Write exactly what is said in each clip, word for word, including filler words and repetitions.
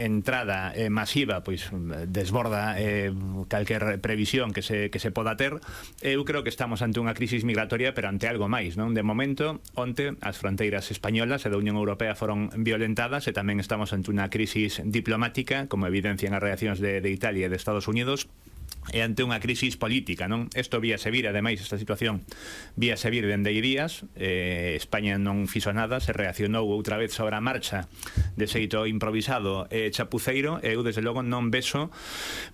entrada eh, masiva pois desborda eh, calquer previsión que se, que se poda ter. Eu creo que estamos ante unha crisis migratoria, pero ante algo máis, non? De momento, onte as fronteiras españolas e da Unión Europea foron violentadas e tamén estamos ante unha crisis diplomática, como evidencian as reaccións de, de Italia e de Estados Unidos, e ante unha crisis política, non? Isto víase vir, ademais, esta situación víase vir dende hai días. eh, España non fixo nada, se reaccionou outra vez sobre a marcha de xeito improvisado e chapuceiro, e eu desde logo non vexo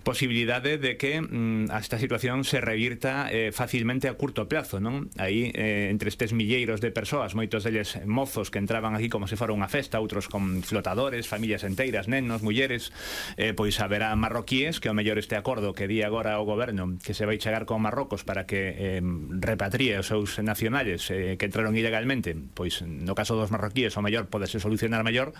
posibilidade de que mm, esta situación se revirta eh, facilmente a curto plazo, non? Aí, eh, entre estes milleiros de persoas, moitos deles mozos que entraban aquí como se fora unha festa, outros con flotadores, familias enteiras, nenos, mulleres, eh, pois haberá marroquíes que ao mellor este acordo que di agora o goberno que se vai chegar con Marrocos para que eh, repatrie os seus nacionales eh, que entraron ilegalmente, pois no caso dos marroquíes o mellor podese solucionar mellor,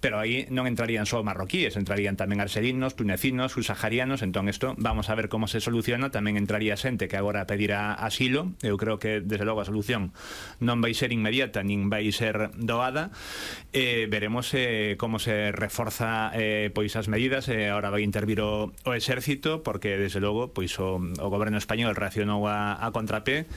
pero aí non entrarían só marroquíes, entrarían tamén arxelinos, tunecinos, subsaharianos. Entón isto vamos a ver como se soluciona. Tamén entraría xente que agora pedirá asilo. Eu creo que desde logo a solución non vai ser inmediata nin vai ser doada. eh, veremos eh, como se reforza eh, pois as medidas. eh, agora vai intervir o, o exército, porque desde logo pois o, o goberno español reaccionou a, a contrapé.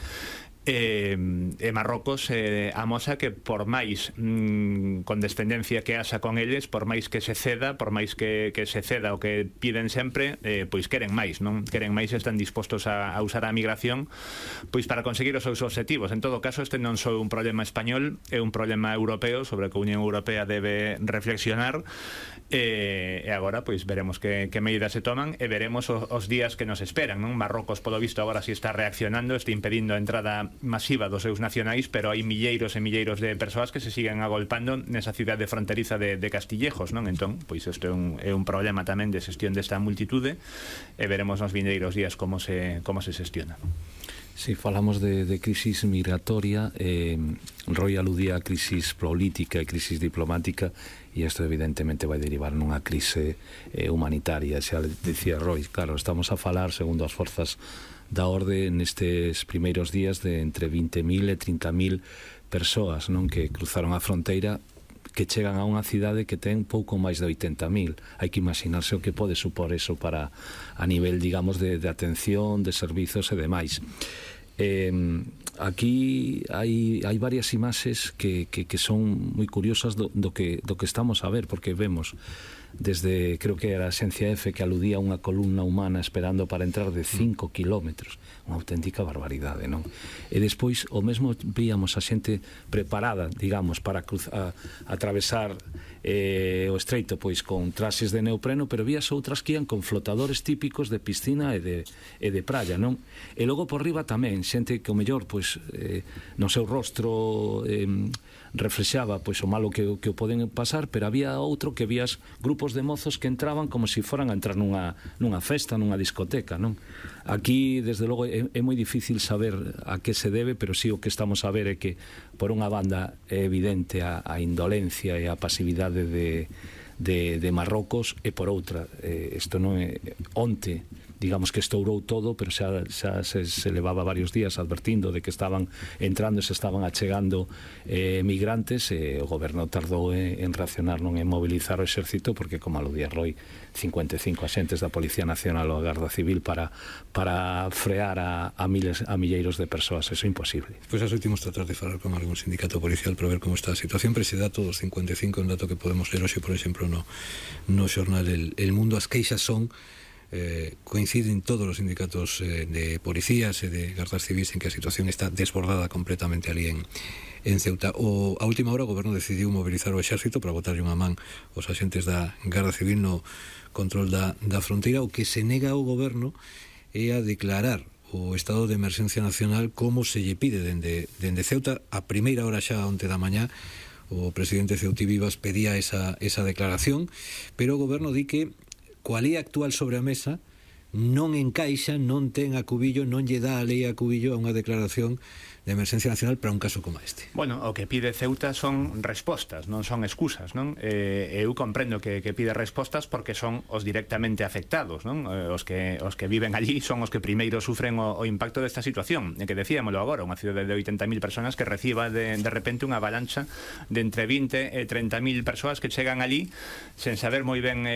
E, e Marrocos eh, amosa que por máis mm, condescendencia que haxa con eles, por máis que se ceda, por máis que, que se ceda o que piden sempre, eh, pois queren máis, non? Queren máis, están dispostos a, a usar a migración pois para conseguir os seus objetivos. En todo caso, este non só un problema español, é un problema europeo sobre o que a Unión Europea debe reflexionar. E, e agora pois veremos que, que medidas se toman, e veremos os, os días que nos esperan, non? Marrocos, polo visto, agora si está reaccionando, está impedindo a entrada masiva dos seus nacionais, pero hai milleiros e milleiros de persoas que se siguen agolpando nesa cidade fronteriza de, de Castillejos, non? Entón, pois isto é un, é un problema tamén de xestión desta multitude, e veremos nos vindeiros días como se, como se xestiona. Si falamos de, de crisis migratoria, eh, Roy aludía a crisis política e crisis diplomática, e isto evidentemente vai derivar nunha crise eh, humanitaria. Xa decía Roy, claro, estamos a falar, segundo as forzas da orde, nestes primeiros días de entre vinte mil e trinta mil persoas, non, que cruzaron a fronteira, que chegan a unha cidade que ten pouco máis de oitenta mil. Hai que imaginarse o que pode supor eso para a nivel, digamos, de, de atención, de servizos e demais. Eh, aquí hai, hai varias imaxes que, que, que son moi curiosas do, do, que, do que estamos a ver, porque vemos desde, creo que era a Xencia F, que aludía a unha columna humana esperando para entrar de cinco kilómetros, unha auténtica barbaridade, non? E despois o mesmo víamos a xente preparada, digamos, para cruzar, a, atravesar eh, o estreito, pois con traxes de neopreno, pero vías outras que ian con flotadores típicos de piscina e de, e de praia, non? E logo por riba tamén xente que o mellor, pois eh, no seu rostro eh, reflexaba pois o malo que, que o poden pasar, pero había outro que vías grupos de mozos que entraban como se si foran a entrar nunha, nunha festa, nunha discoteca, non? Aquí, desde logo, é, é moi difícil saber a que se debe, pero sí o que estamos a ver é que, por unha banda, é evidente a, a indolencia e a pasividade de, de, de Marrocos, e por outra, eh, isto non é onte, digamos que estourou todo, pero xa, xa se, se levaba varios días advertindo de que estaban entrando e se estaban achegando eh, migrantes, e o goberno tardou en, en reaccionar, non en mobilizar o exército, porque, como aludía Roy, cincuenta e cinco axentes da Policía Nacional ou a Garda Civil para, para frear a, a, miles, a milleiros de persoas. Eso é imposible. Pois as últimos tratar de falar con algún sindicato policial para ver como está a situación, pero ese dato dos cincuenta e cinco é un dato que podemos ler hoxe, por exemplo, no, no xornal El, El Mundo. As queixas son Eh, coinciden todos os sindicatos eh, de policías e de gardas civis en que a situación está desbordada completamente ali en, en Ceuta. O, a última hora o goberno decidiu mobilizar o exército para botarlle unha man aos axentes da Garda Civil no control da, da fronteira. O que se nega ao goberno é a declarar o estado de emerxencia nacional como se lle pide dende, dende Ceuta. A primeira hora xa onte da mañá o presidente Ceutí Vivas pedía esa, esa declaración, pero o goberno di que coa lei actual sobre a mesa non encaixa, non ten a cubillo, non lle dá a lei a cubillo a unha declaración de emerxencia nacional para un caso como este. Bueno, o que pide Ceuta son respostas, non son excusas, non? Eh, eu comprendo que, que pide respostas porque son os directamente afectados, non? Eh, os, que, os que viven allí son os que primeiro sufren o, o impacto desta situación. E que decíamolo agora, unha cidade de oitenta mil personas que reciba de, de repente unha avalancha de entre vinte e treinta mil persoas que chegan allí sen saber moi ben eh,